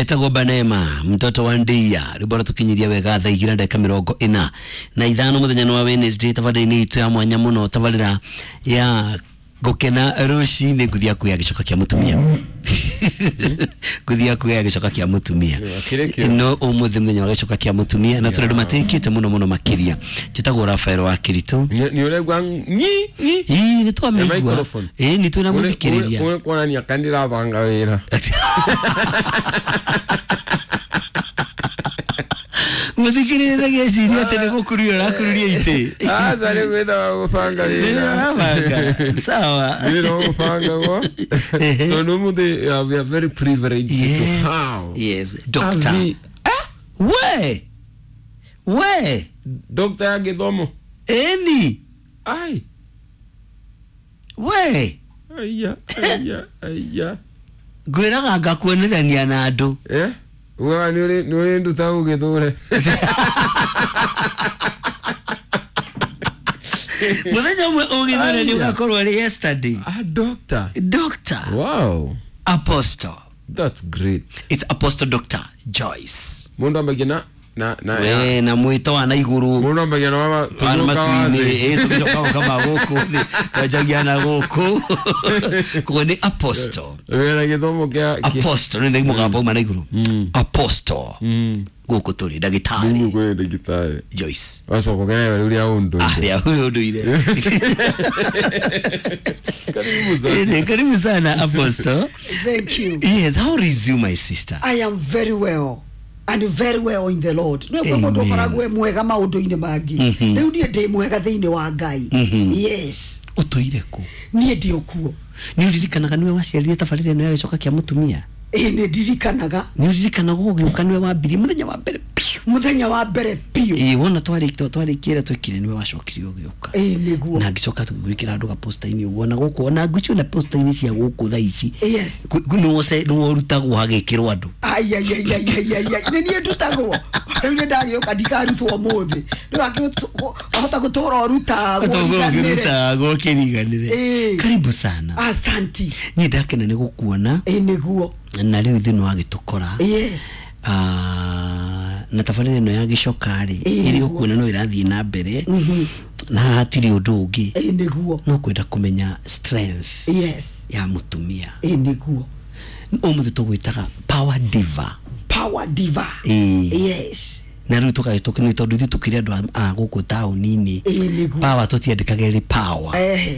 Etagwo Banema mtoto wa Ndia rwimbo ratukinyiria wega thaa igĩrĩ na ndagĩka mĩrongo ĩna na ithano mũthenya wa Wednesday tabarĩra-inĩ itũ ya mwanya mũno tabarĩra ya gũkena rũcinĩ ngũthi yaku ya gĩcoka kĩa mũtumia ngũthi yaku ya gĩcoka kĩa mũtumia no ũmũthĩ mũthenya wa gĩcoka kĩa mũtumia na tũrĩ andũ matĩkĩte mũno mũno makĩria. Njĩtagwo Rafael wa Kĩritũ. Nĩ ũraigua nyi nyi? Ĩĩ, nĩ twamĩigua. Ĩĩ, nĩ twĩna mũthikĩrĩria. Ũrĩ kuonania kana ndĩrabanga wĩra. Mũthikĩrĩria ndagĩciria atĩ nĩ gũkururia ũrakururia itĩ. Aca, nĩ gwĩtaga gũbanga wĩra. Nĩ sawa. Wĩra wa gũbangagwo tondũ ũmũthĩ we are very privileged to have yes, doctor. We we doctor ya gĩthomo. Eni ai we aya aya aya ngwĩraga ngakuonithania na andũ. Ugaga nĩ ũrĩ nduta ũgĩthũre. Mũthenya ũmwe ũgĩthũre nĩ ũgakorwo arĩ yesterday. Ah, doctor. Doctor. Wow. Apostle. That's great. It's Apostle Dr. Joyce. Mũndũ ambagia na we na mwĩto wa na igũrũ. Mũndũ ambagia na wa matu-inĩ, tũgĩcoka gũka gũkũ thĩ, twanjagia na gũkũ. Koguo nĩ Apostle. Wĩna gĩthomo kĩa Apostle nĩ mũgambo uma na igũrũ. Apostle. Gũkũ tũrĩ ndagĩtarĩ. Gũkũ kwĩ ndagĩtarĩ Joyce. Wacoka ũkenaga rĩu rĩa ũndũire. Ah, rĩa ũndũire. Karibu sana. Karibu sana Apostle. Thank you. Yes, how is you my sister? I am very well. And very well in the Lord. Nĩ kwa mũndũ ũkoragwo mwega maũndũ-inĩ mangĩ. Rĩu niĩ ndĩ mwega thĩinĩ wa Ngai. Yes. Ũtũire kũ? Niĩ ndĩ okuo. Nĩ ũririkanaga nĩwe waciarire tabarĩra ĩno ya gĩcoka kĩa mũtumia? Ĩĩ, nĩ ndirikanaga. Nĩ ũririkanaga ũgĩũka nĩwe wambirie mũthenya wa mbere piũ? Mũthenya wa mbere piũ. Ĩĩ, wona twarĩkĩra twekire nĩwe wacokire ũgĩũka. Ĩĩ, nĩguo. Na ngĩcoka tũgĩgwĩkĩra andũ gaposta-inĩ ũguo na gũkũ ona ngwĩciria ona posta-inĩ cia gũkũ thaa ici. Yes. Nĩwe ũrutagwo hagĩkĩrwo andũ. Ai ai ai ai ai ai ai. Nĩ niĩ ndutagwo. Rĩu nĩ ndagĩũka ndikarutwo ũmũthĩ. Rĩu wahota gũtũra ũrutagwo. Ũrutagwo ũkĩriganĩre. Karibu sana. Asanti. Niĩ ndakena nĩ gũkuona. Ĩĩ, nĩguo. Na rĩu ithuĩ nĩwagĩtũkora. Yes. Na tabarĩra ĩno ya gĩcoka rĩ ĩrĩ ũkuona no ĩrathiĩ na mbere na hatirĩ ũndũ ũngĩ. Ĩĩ, nĩguo. No kwenda kũmenya strength. Yes. Ya mũtumia. Ĩĩ, nĩguo. Ũmũthĩ tũgwĩtaga power diva. Power diva. Yes. Na rĩu tũgagĩtũka nĩ tondũ ithuĩ tũkĩrĩ andũ a gũkũ taũni-inĩ. Power tũtiandĩkagĩrĩ power.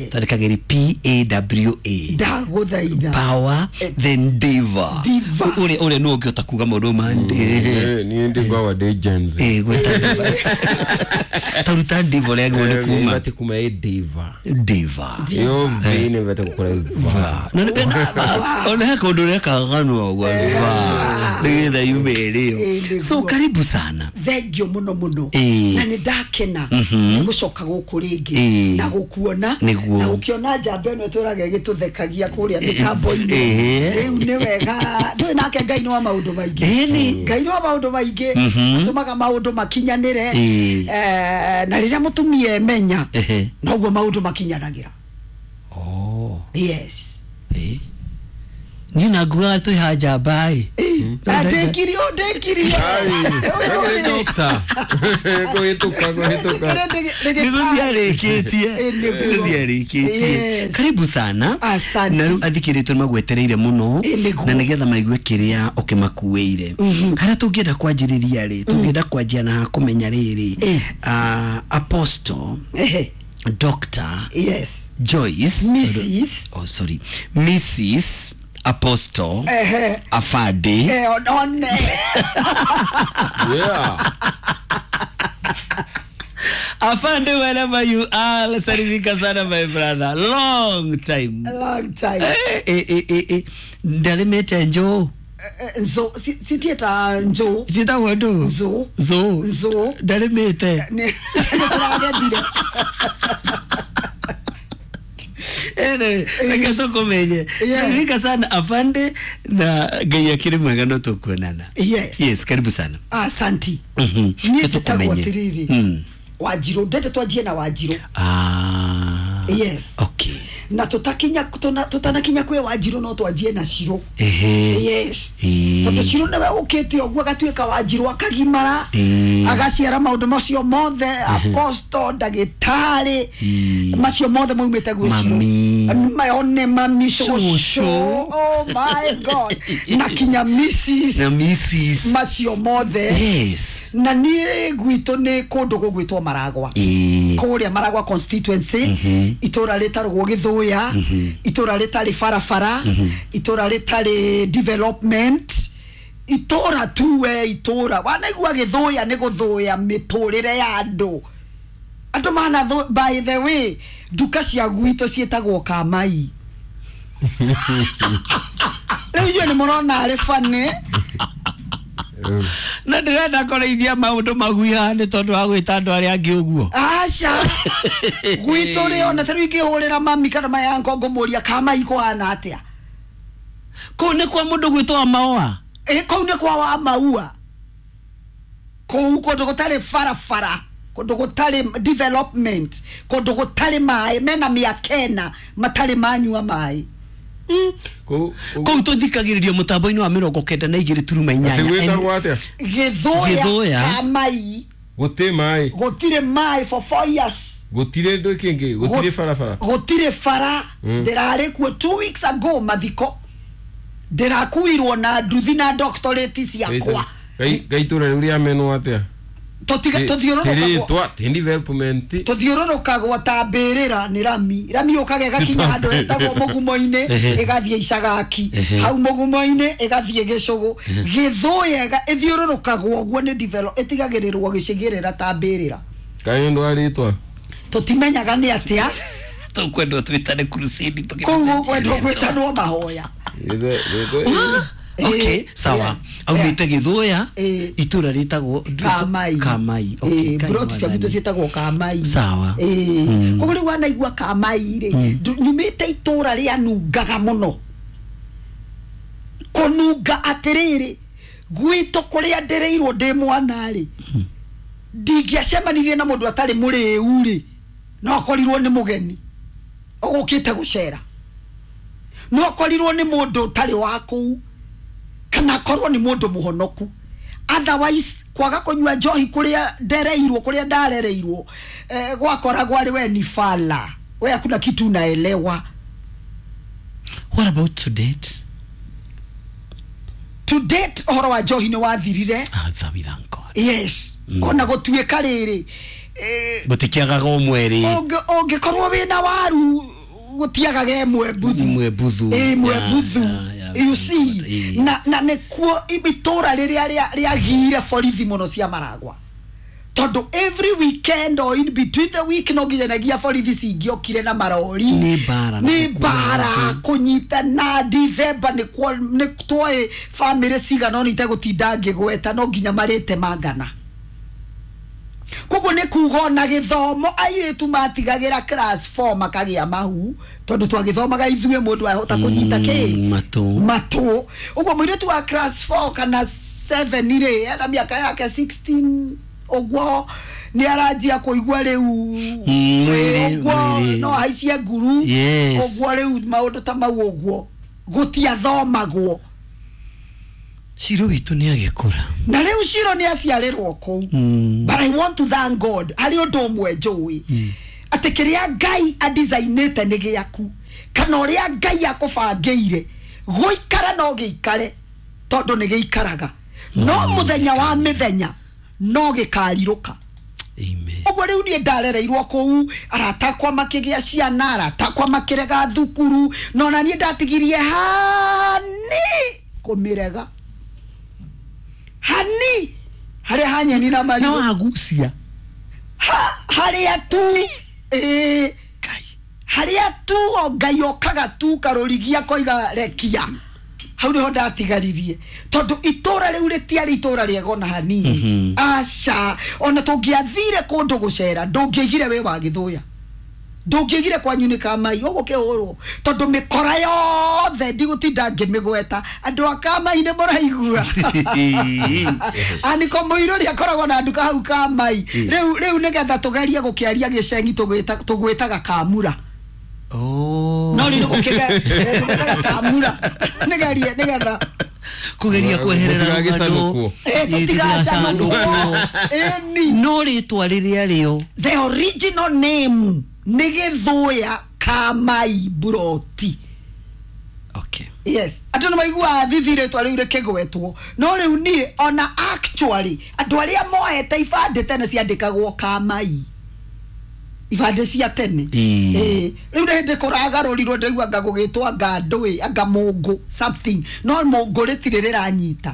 Twandĩkagĩrĩ P-A-W-A. Ndagũthaitha. Power then diva. Ũrĩa ũrĩa nĩwe ũngĩhota kuga maũndũ ma niĩ ndĩ ndĩ Gen Z. Taruta diva ũrĩa agĩrĩirwo nĩ kuma. Ibatiĩ kuma ĩ diva. Diva. Ĩyo V nĩ ibatiĩ gũkorwo va. Ona he kaũndũ ũreka kanua ũguo va nĩgetha yume ĩrĩo. So karibu sana. Thank you mũno mũno. Na nĩ ndakena nĩ gũcoka gũkũ rĩngĩ na gũkuona na gũkĩona njamba ĩno ĩtũraga ĩgĩtũthekagia kũrĩa mĩtambo-inĩ. Rĩu nĩ wega ndũĩ nake Ngai nĩ wa maũndũ maingĩ. Ngai nĩ wa maũndũ maingĩ atũmaga maũndũ makinyanĩre. Na rĩrĩa mũtumia emenya noguo maũndũ makinyanagĩra. Oh. Yes. Niĩ na ngugaga twĩ ha njamba ĩ. Ndĩkirio ndĩkirio. Doctor. Kũhĩtũka kũhĩtũka. Nĩgũthiĩ arĩkĩtie. Nĩgũthiĩ arĩkĩtie. Karibu sana. Asante. Na rĩu athikĩrĩria nĩmagwetereire mũno na nĩgetha maigue kĩrĩa ũkĩmakuĩire. Harĩa tũngĩenda kwanjĩrĩria rĩ, tũngĩenda kwanjia na kũmenya rĩrĩ. Apostle. Doctor. Yes. Joyce. Mrs. Oh sorry. Mrs. Apostle. Afade. One. Yeah. Afande, wherever you are, salimika sana my brother. Long time. Long time. Ndarimete njo. Nzo, sitieta njo. Ciĩtagwo ndũ? Nzo. Nzo. Nzo. Ndarimĩte. Nĩ tũragethire. Anyway, reke tũkũmenye. Salimika sana Afande na Ngai akĩrĩ mwega no tũkuonana. Yes. Yes, karibu sana. Asanti. Niĩ njĩtagwo atĩrĩrĩ. Wanjirũ, ndende twanjie na Wanjirũ. Ah. Yes. Okay. Na tutakinya tutanakinya kwi Wanjiru no twanjie na Ciro. Yes, tondu Ciro niwe ukite uguo agatuika Wanjiru akagimara agaciara maundu macio mothe, apostle, ndagitari, macio mothe maumite gwi Ciro. One mami shosho, oh my God, na kinya Mrs na Mrs macio mothe. Yes. Na nie gwitũ nĩ kũndũ gũgwĩtwo Maragwa, kũrĩa Maragwa constituency, itũra rĩtaragwo Gĩthũya, itũra rĩtarĩ barabara, itũra rĩtarĩ development, itũra tu we itũra wanaigua Gĩthũya nĩ gũthũya mĩtũrĩre ya andũ. Andũ mana, by the way, nduka cia gwitũ ciĩtagwo Kamai. Rĩu inyuĩ nĩ mũrona arĩ funny. Na ndĩrenda kũrĩithia maũndũ maguiha nĩ tondũ wa gwĩta andũ arĩa angĩ ũguo. Aca, gwitũ rĩ ona ta rĩu ingĩhũrĩra mami kana mayango ngũmũria Kamai kũhana atĩa. Kũu nĩ kwa mũndũ gwĩtwo wa Maũa. Kũu nĩ kwa wa Maua. Kũu kũndũ gũtarĩ barabara, kũndũ gũtarĩ development, kũndũ gũtarĩ maĩ, mena mĩaka ĩna matarĩ manyua maĩ. Kũu tũthikagĩrĩrio mũtambo-inĩ wa 92.8. Gĩthũya Kamai. Gũtirĩ maĩ. Gũtirĩ maĩ for 4 years. Gũtirĩ ndũ kĩngĩ, gũtirĩ barabara. Gũtirĩ bara. Ndĩrarĩ kuo 2 weeks ago mathiko. Ndĩrakuirwo na nduthi na doctorate ciakwa. Gaitũra rĩu rĩa menwo atĩa? Tũthiũrũrũkagwo ta mbĩrĩra nĩ rami. Rami yũkaga ĩgakinya handũ hetagwo mũgumo-inĩ, ĩgathiĩ Icagaki, hau mũgumo-inĩ ĩgathiĩ Gĩcũgũ. Gĩthũya ĩthiũrũrũkagwo ũguo nĩ develop, ĩtigagĩrĩrwo gĩcigĩrĩra ta mbĩrĩra. Kaĩ ũndũ wa rĩtwa? Tũtimenyaga nĩ atĩa. Tũkwendwo twĩtane crusade. Kũu ũkwendwo gwĩtanwo mahoya. Okay, sawa. Aumĩte Gĩthũya, itũra rĩtagwo Kamai. Kamai. Okay, broti cia gwitũ ciĩtagwo Kamai. Sawa. Koguo rĩu wanaigua Kamai rĩ, nyumĩte itũra rĩanungaga mũno. Kũnunga atĩrĩrĩ, gwitũ kũrĩa ndĩrĩirwo ndĩ mwana rĩ, ndingĩacemanirie na mũndũ atarĩ mũrĩu rĩ, no akorirwo nĩ mũgeni ũgũkĩte gũcera, no akorirwo nĩ mũndũ ũtarĩ wa kũu, kana akorwo nĩ mũndũ mũhonoku. Otherwise kwaga kũnyua njohi kũrĩa ndereirwo, kũrĩa ndarereirwo, gwakoragwo arĩ we ni fala, we hakuna kitu unaelewa. What about to date? To date ũhoro wa njohi nĩ wathirire. We thank God. Yes. Ona gũtuĩka rĩrĩ, gũtikĩagaga ũmwe rĩ, ũngĩkorwo wĩna waru gũtiagaga ĩmwe mbuthu. Ĩmwe mbuthu. Ĩmwe mbuthu. You see, na nĩkuo itũra rĩrĩa rĩagire borithi mũno cia Maragwa, tondũ every weekend or in between the week no nginyanagia borithi cingĩokire na marori. Nĩ mbara kũnyita na Dithemba. Nĩ twoĩ bamĩrĩ cigana ũna itegũtinda ngĩgweta, no nginya marĩte mangana. Koguo nĩ kuga ona gĩthomo airĩtu matigagĩra class 4 makagĩa mahu, tondũ twagĩthomaga ithuĩ mũndũ ahota kũnyita kĩ matũ. Ũguo mũirĩtu wa class 4 kana 7 rĩ, ena mĩaka yake 16 ũguo nĩ aranjia kũigua rĩu ũguo no ahaicie nguru ũguo rĩu maũndũ ta mau ũguo gũtiathomagwo. Ciro witũ nĩ agĩkũra. Na rĩu Ciro nĩ aciarĩrwo kũu. But I want to thank God. Harĩ ũndũ ũmwe njũĩ, atĩ kĩrĩa Ngai adisainĩte nĩ gĩaku, kana ũrĩa Ngai akũbangĩire gũikara no gĩikare, tondũ nĩ gĩikaraga. No mũthenya wa mĩthenya no gĩkarirũka. Amen. Ũguo rĩu niĩ ndarereirwo kũu, arata akwa makĩgĩa ciana, arata akwa makĩrega thukuru, no na niĩ ndatigirie hani kũmĩrega. Hani harĩa hanyeni na marigũ. No agucia. Harĩa tu harĩa tu o Ngai okaga tu karũrigia koiga rekia. Hau nĩho ndatigaririe, tondũ itũra rĩu rĩtiarĩ itũra rĩega ona hanini. Aca, ona tũngĩathire kũndũ gũcera ndũngĩaigire wĩ wa Gĩthũya, ndũngĩaigire kwanyu nĩ Kamai ũgũkĩhũrwo, tondũ mĩkora yothe ndigũtinda ngĩmĩgweta, andũ a Kamai nĩ mũraigua. Aniko mũirũri akoragwo na nduka hau Kamai. Rĩu nĩgetha tũgerie gũkĩaria gĩcengi tũgwĩtaga Kamura. Oh. No rĩu gũkĩgatamura nĩgerie nĩgetha kugeria kweherera rũgano tũtigacanũkwo ĩni no rĩtwa rĩrĩa rĩo the original name nĩ Gĩthũya Kamai Buroti. Okay. Yes. Andũ nĩ maiguaga thithi rĩtwa rĩu rĩkĩgwetwo no rĩu niĩ ona actually andũ arĩa moete ibandĩ tene ciandĩkagwo Kamai ibandĩ cia tene. Rĩu nĩ hĩndĩ kũragarũrirwo ndaigua anga gũgĩtwo anga ndũĩ anga mũngũ something no mũngũ rĩtirĩ rĩranyita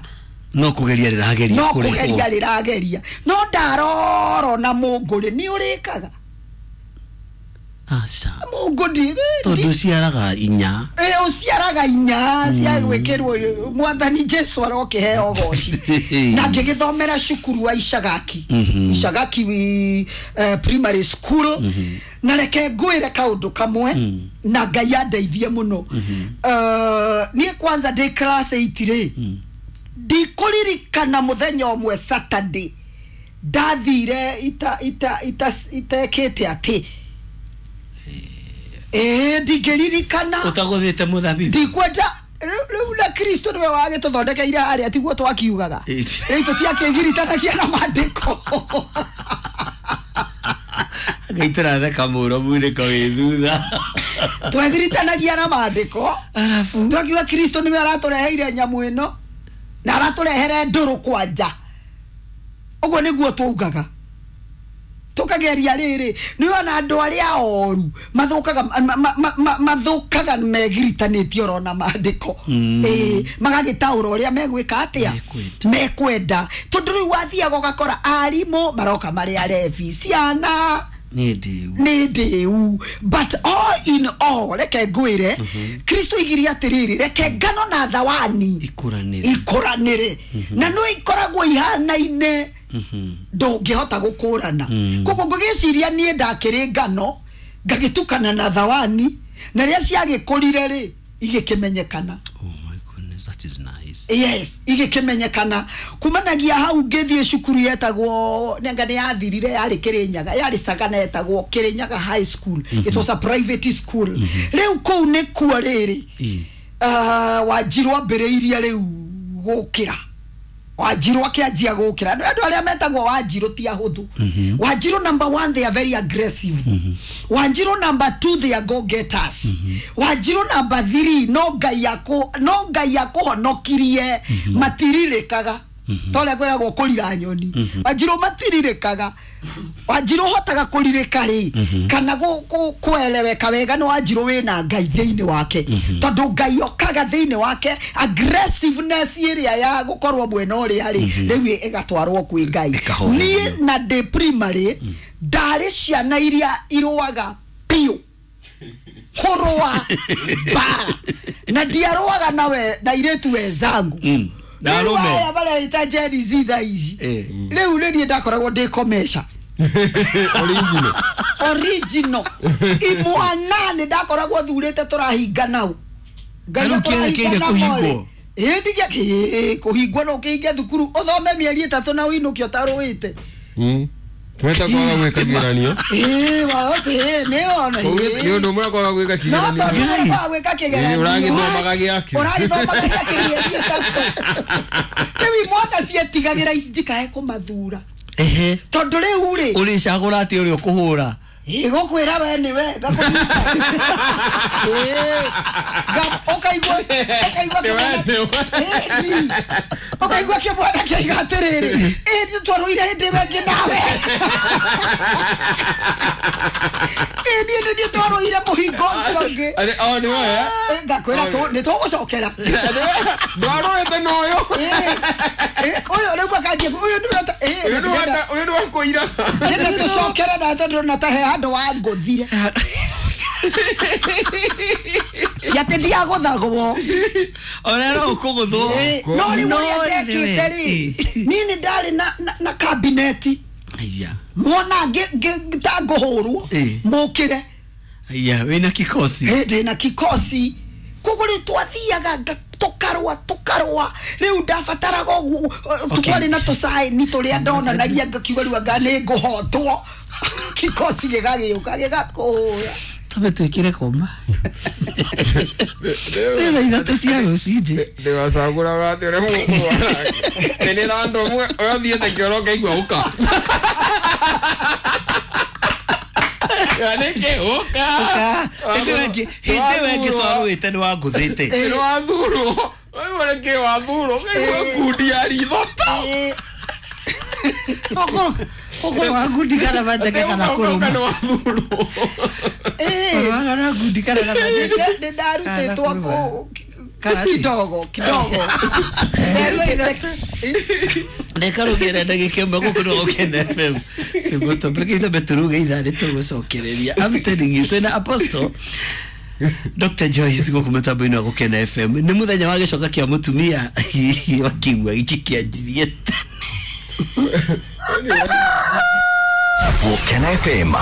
no kũgeria rĩrageria no kũgeria rĩrageria no ndaroro na mũngũ rĩ nĩ ũrĩkaga. Aca. Mũngũ ndirĩ tondũ ũciaraga inya. Ũciaraga inya cia gwĩkĩrwo mwathani Jesu arokĩheo goci. Na ngĩgĩthomera cukuru wa Icagaki. Icagaki primary school. Na reke ngwĩre kaũndũ kamwe na Ngai andeithie mũno. Niĩ kwanza ndĩ class 8 rĩ ndikũririkana mũthenya ũmwe Saturday ndathire itekĩte atĩ ndingĩririkana ũtagũthĩte mũthabibu ndikwenda rĩu na Kristo nĩwe wagĩtũthondekeire harĩa tiguo twakiugaga rĩu tũtiakĩgiritanagia na maandĩko Ngai tũratheka mũno munĩko wĩ thutha twegiritanagia na maandĩko arabu twakiuga Kristo nĩwe aratũreheire nyamũ ĩno na aratũrehere ndũrũ kwanja ũguo nĩguo twaugaga tukageria riri ni ona andu aria oru mathukaga mathukaga megiritanĩtie oro na maandĩko magagĩtaũra ũrĩa megwĩka atĩa mekwenda tondũ rĩu wathiaga ũgakora arimũ maroka marĩ arebi ciana nĩ ndĩu but all in all reke ngwĩre Kristo igirie atĩrĩrĩ reke ngano na thawani ikũranĩre na no ikoragwo ihanaine ndũngĩhota gũkũrana koguo ngũgĩciria niĩ ndakĩrĩ ngano ngagĩtukana na thawani na rĩrĩa ciagĩkũrire rĩ igĩkĩmenyekana. Oh my goodness, that is nice. Yes, igĩkĩmenyekana kumanagia hau ngĩthiĩ cukuru yetagwo nĩanga nĩ yathirire yarĩ Kĩrĩnyaga yarĩ Sagana yetagwo Kĩrĩnyaga High School. It was a private school. Rĩu kũu nĩkuo rĩrĩ Wanjirũ ambĩrĩirie rĩu gũkĩra Wanjirũ akĩanjia gũkĩra andũ arĩa metagwo Wanjirũ ti ahũthũ. Wanjirũ number 1 they are very aggressive. Wanjirũ number 2 they are go getters. Wanjirũ number 3 no Ngai akũhonokirie matirirĩkaga torĩa kwĩragwo kũrira nyoni. Wanjirũ matirirĩkaga. Wanjirũ ũhotaga kũrirĩka rĩ kana kũeleweka wega nĩ Wanjirũ wĩna Ngai thĩinĩ wake tondũ Ngai okaga thĩinĩ wake aggressiveness ĩrĩa ya gũkorwo mwena ũrĩa rĩ rĩu ĩgatwarwo kwĩ Ngai. Niĩ na ndĩ primary ndarĩ ciana iria irũaga biũ kũrũa mbara na ndiarũaga nawe na airĩtu wenzangu na arũme aya mareita Gen Z thaa ici rĩu nĩ niĩ ndakoragwo ndĩ komesha original imwana nĩ ndakoragwo thurĩte tũrahinga nau Ngai kũhingwo ĩĩ kũhingwo no ũkĩhinge thukuru ũthome mĩeri ĩtatũ na ũinũke ũtarũĩte. Tweta kwaga gwĩka kĩgeranio nĩ ona nĩ ũndũ ũmwe kwaga gwĩka kĩgeranio no tondũ kwaga gwĩka kĩgeranio ũragĩthomaga gĩake ũragĩthomaga gĩake mĩeri ĩtatũ rĩu imwana cietigagĩra ndikae kũmathura tondũ rĩu rĩ ũrĩcagũra atĩ ũrĩa ũkũhũra gũkwĩra we nĩwe ũkaigua kĩmwana kĩaiga atĩrĩrĩ ĩ twarũire hĩndĩ ĩmwe ĩngĩ nawe ĩ niĩ nĩ niĩ twarũire mũhingo ũcio ũngĩ ngakwĩra nĩ tũgũcokera ndwarũĩte na ũyũ ũyũ rĩu akanjia ũyũ ũyũ nĩ wakũira nĩ tũcokere na tondũ na ta he handũ wangũthire yatĩ ndiagũthagwo ona no ũkũgũthwo no rĩu ũrĩa ndekĩte rĩ niĩ nĩ ndarĩ na kabineti mwona ta ngũhũrwo mũkĩre wĩna kikosi ndĩna kikosi koguo rĩu twathiaga tũkarũa rĩu ndabataraga ũguo twarĩ na tũcaĩni tũrĩa ndonanagia ngakiuga rĩu anga nĩ ngũhotwo kikosi gĩgagĩũka gĩgakũhũra. Twambe twĩkĩre koma. Nĩ thaa 3 cia rũcinĩ. Ndĩwacagũraga atĩ ũrĩa mũkũrũa nake nĩ na andũ amwe ũrathiĩte kĩoro ũkaigua ũka Ya nĩkĩ ũka Hĩndĩ ĩyo ĩngĩ twarũĩte nĩ wangũthĩte. Nĩ wathurwo waigua nĩkĩ wathurwo ũkaigua ngundi ya ritho ta Ũkorwo wa ngundi kana mateke kana kũrũma. nĩ wathurwo. Ũrũaga na ngundi kana na mateke. Nĩ ndarutĩtwo kũ Kana kidogo kidogo. Reka rũgĩre ndagĩka ĩmwe gũkũ nĩ Gũkena FM. Nĩguo tũmbe tũruge ithaa nĩ tũgũcokereria. I'm telling you, twĩna Apostle Dr. Joyce gũkũ mũtambo-inĩ wa Gũkena FM. Nĩ mũthenya wa gĩcoka kĩa mũtumia wakiugua gĩkĩ kĩanjirie tene. Gũkena FM.